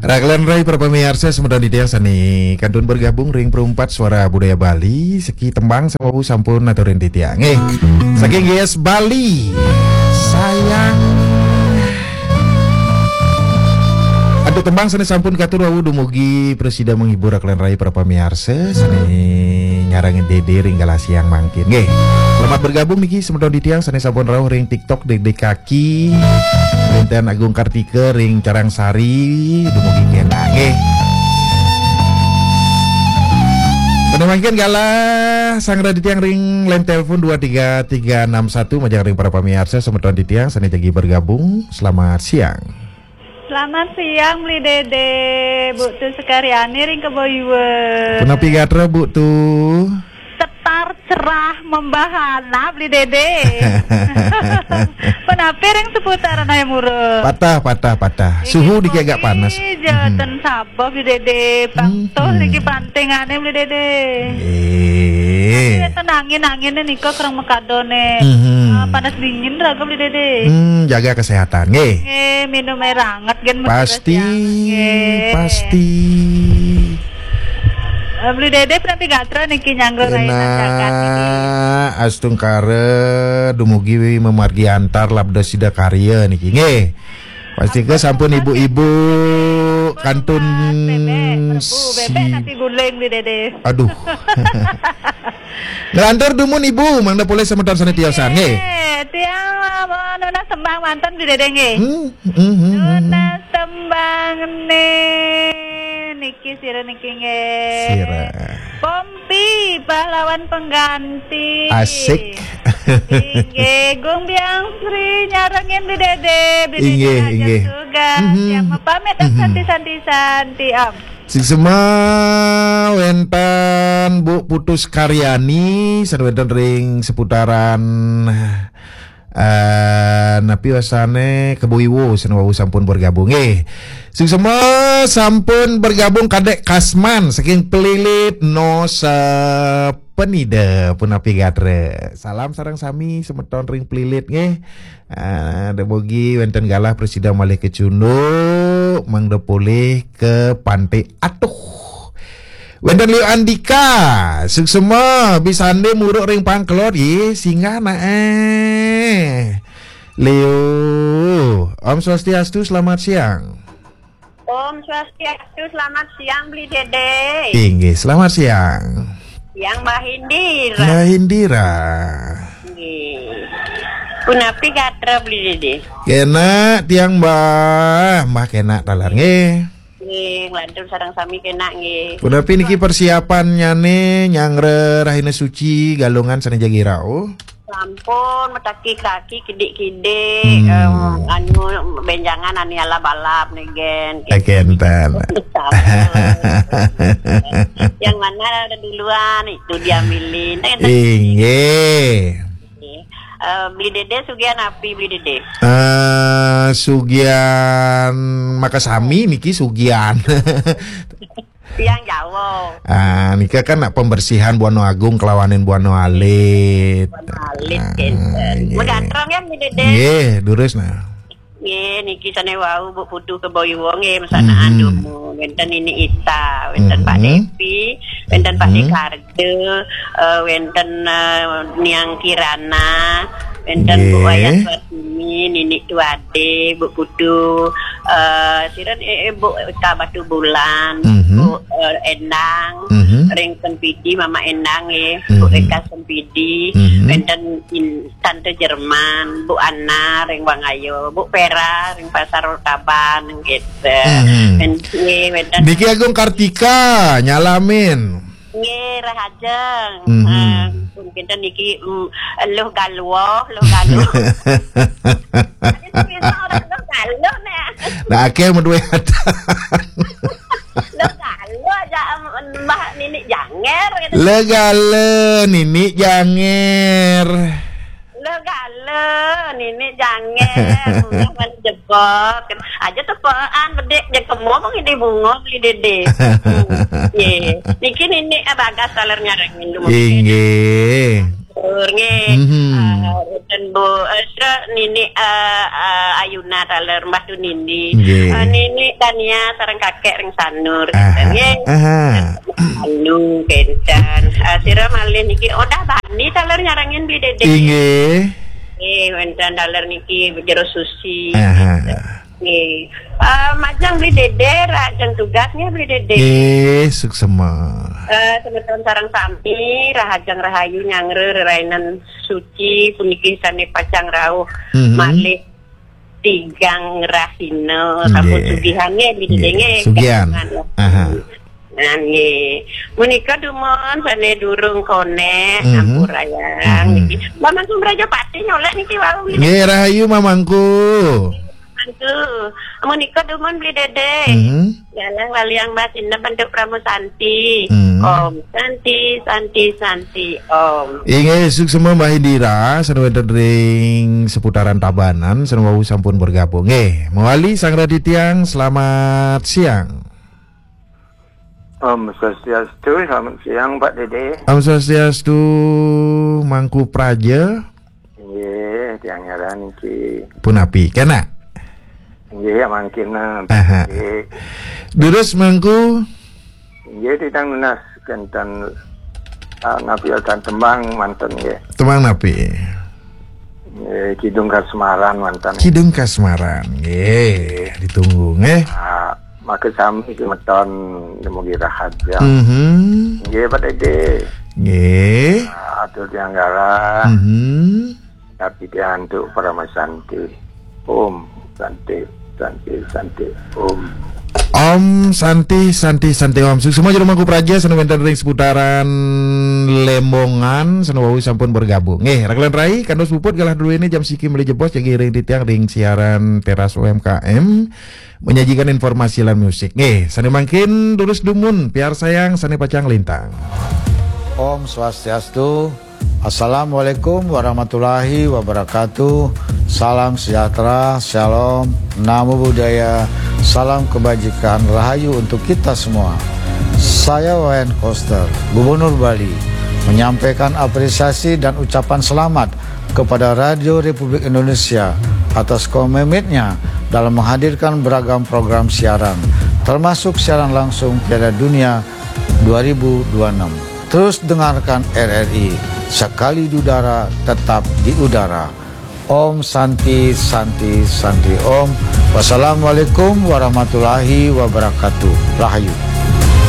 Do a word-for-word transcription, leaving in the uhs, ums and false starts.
Raglan rai para pamiarsa semeton titiang sane kantun bergabung ring Perumpat Suara Budaya Bali, siki tembang sane wau sampun aturin titiang. Eh, saking G S Bali. Sayang. Aduh, tembang sane sampun katur wau dumugi prasida menghibur raglan rai para pamiarsa sane nyarengin Dede ring galah siang mangkin. Nggih. Selamat bergabung niki semeton titiang sane sampun rauh ring TikTok Dede Kaki. Wenten Agung Kartika ring Carang Sari dumugi kena nggih. Pada mangkin galah sang raditiang ring line telepon dua tiga tiga enam satu majeng ring para pamiarsa semeton titiang sane jagi bergabung. Selamat siang. Selamat siang, Beli Dede. Bu Tu Sekaryani ring Kebo Iwa. Punapi gatra, Bu Tu? Setar cerah membahana, Beli Dede. Punapi ring seputaran ae mura? Patah, patah, patah. Suhu dikit agak panas. Inggih, Beli Dede. Mhm. Ten Sabah, Beli Dede. Pang Hmm. Tuh niki pantingane, Beli Dede. Eh. Tapi ten angin-angine nika kereng makadane. Mhm. Ah, panas dingin raga, Beli Dede. Hmm, jaga kesehatan, nggih. Nggih, minum air anget gen. Pasti, pasti. Eh, Beli Dede punapi gatra niki nyangga rainan jagat niki. Enak, astungkara dumugi mamargi antar labda sida karya niki, nggih. Pastika sampun ibu-ibu kantun bebek, Prabu, bebek si- nasi guling, Beli Dede. Aduh. Nglantur dumun Ibu, mangda polih semeton sane tiosan, nggih. Eh, tiang, eh, nunas tembang manten, Beli Dede, nggih. Hmm, hmm, hmm, hmm. Nunas tembang ne niki sira niki, nggih. Sira. Pompi, pahlawan pengganti. Asik. Inggih, Gung Biang Sri nyarengin Beli Dede, Beli Dede. Inggih, Raja inggih. Tugas, mhm, yang mapamit, mhm, santi-santi, santi, Om. Sing sema wenten Bu Putu Sekaryani, sane wenten ring seputaran, eh, napi wasane, Kebo Iwa, sane wau sampun bergabung. Eh, sing sema sampun bergabung Kadek Kasman saking Pelilit, Nusa Penida, punapi gatra. Salam sareng sami semeton ring Pelilit, nggih. Ah, dumugi wenten galah prasida malih kecunduk, mangda polih ka Pante Atuh. Wenten Leo Andika, suksma, bisande muruk ring pangkelod, nggih, singgah nae. Leo, Om Swastiastu, selamat siang. Om Swastiastu, selamat siang, Beli Dede. Inggih, selamat siang. Yang Mbah Indira. Mbah Indira. Nggih. Punapi gatra, Beli Dede? Kena tiang, Mbah. Mbah kena taler, nggih. Nggih, nglantur sareng sami kena, nggih. Punapi niki persiapannyane nyanggra Rahina Suci Galungan sane jagi rauh? Sampun, mataki kaki kidik-kidik, hmm, em, anu, benjangan ane alab-alab nih, Gen. Kenten. Sampun. Yang mana ada duluan, itu diambilin. Inggih. Eh, Beli Dede sugihan api, Beli Dede? Eh, sugihan makasami niki sugihan. Tiang Jawa. Ah, nika kan nak pembersihan Buana Agung kelawanin Buana Alit. Buana Alit, ah, kenten. Nggih. Megatrong ya, Beli Dede? Nggih, durus nah. Nggih, niki sane wau Bu Putu Kebo Iwa nggih, mesanaan, mhm, dumun. Wenten Nini Ita, wenten Pak, mhm, Devi, wenten Pak, mhm, Dekarja, eh, wenten, eh, Niang Kirana, wenten Bu, nggih, Wayah Suartini, Nini Tuade, Bu Putu, eh, sira, eh, eh, Bu Eka Batu Bulan, mhm, Bu, eh, Endang, mhm, ring Sempidi, Mama Endang nggih, Bu, mhm, Eka Sempidi, mhm, wenten in-, Tante Jerman, Bu Ana ring Wangayo, Bu Pera ring Pasar Taban gitu. Mhm. Wenten, nggih, wenten. Niki Agung Kartika nyalamin. Nggih, rahajeng. Mhm. Eh, mungkin niki, mm, Luh Galwo, Luh Galwo. Ada sing orang Luh Galwo nih. Nah, akeh menduwe atan. Luh Galwo aja, em, Mbah Nini Janger gitu. Luh Galwo Nini Janger. Luh Galwo Nini Janger. Udah malu jebot. Aja tepean bedik je kemo mengidi bunga Beli Dede. Hmm. Ye. Niki Nini, eh, Bagas taler nyarengin dulu. Inggih. Nggih. Mhm. Ah, wonten Bu, eh, sira Nini, eh, eh, Ayuna taler Mbah Tunindi. Nggih. Eh, Nini Tania sareng kakek ring Sanur. Aha, nggih. Aha. Anu, kenten. Eh, sira malih niki Odah Bani taler nyarengin Bli Dede. Inggih. Nggih, wonten taler niki Jero Susi. Aha. Nggih. Eh, majeng Bli Dede, rahajeng tugas nggih Bli Dede. Nggih, suksema. Eh, semeton sareng sami, rahajeng rahayu nyanggra rerainan suci puniki sane pacang rauh Mhm. malih tigang rahina sampun Nggih. Sugihan nggih Bli Dede Nggih, nggih. Sugihan. Kagungan. Aha. Nah, nggih. Menika dumun sane durung konek Mhm. ampurayang Mhm. niki. Mbah Mangku Mraja Patih nyolek niki wau nggih. Nggih, rahayu Mamangku. Mangku. Menika dumun Bli Dede. Mhm. Galah waliang Mbah Sineb bentuk Pramu Santi. Mhm. Om Santi, Santi, Santi, Om. Inggih, suksema Mbah Indira, sane wonten ring seputaran Tabanan, sane wau sampun bergabung. Nggih, mewali Sang Raditya, selamat siang. Om Swastiastu, selamat siang Pak Dede. Om Swastiastu, Mangku Praja. Nggih, tiang ngaran niki. Punapi, kena? Nggih, ya mangkin. Aha. Nggih. Durus Mangku. Nggih, titang nunas kenten, ah, napi wonten tembang manten nggih. Tembang napi? Nggih, Kidung Kasmaran manten. Kidung Kasmaran. Nggih, ditunggu nggih. Ah, maka sami semeton mugi rahaja. Mhm. Nggih, Pak Dede. Nggih. Ah, atur tiang galah. Mhm. Tapi tiang antuk Parama Santi. Om Santi, Santi, Santi. Om. Om Santi, Santi, Santi Om. Suksema jero Mangku Praja sane wonten ring seputaran Lembongan, sane wau sampun bergabung. Nggih, rakelan rai, kantos puput galah duene jam siki meli jebos jagi ring titiang ring siaran Teras U M K M menyajikan informasi lan musik. Nggih, sane mangkin durus dumun, piarsayang sane pacang lintang. Om Swastiastu. Assalamualaikum warahmatullahi wabarakatuh. Salam sejahtera, shalom, namo buddhaya, salam kebajikan, rahayu untuk kita semua. Saya Wayan Koster, Gubernur Bali, menyampaikan apresiasi dan ucapan selamat kepada Radio Republik Indonesia atas komitmennya dalam menghadirkan beragam program siaran, termasuk siaran langsung Piala Dunia dua ribu dua puluh enam. Terus dengarkan R R I, sekali di udara, tetap di udara. Om Santi, Santi, Santi Om. Wassalamualaikum warahmatullahi wabarakatuh. Rahayu.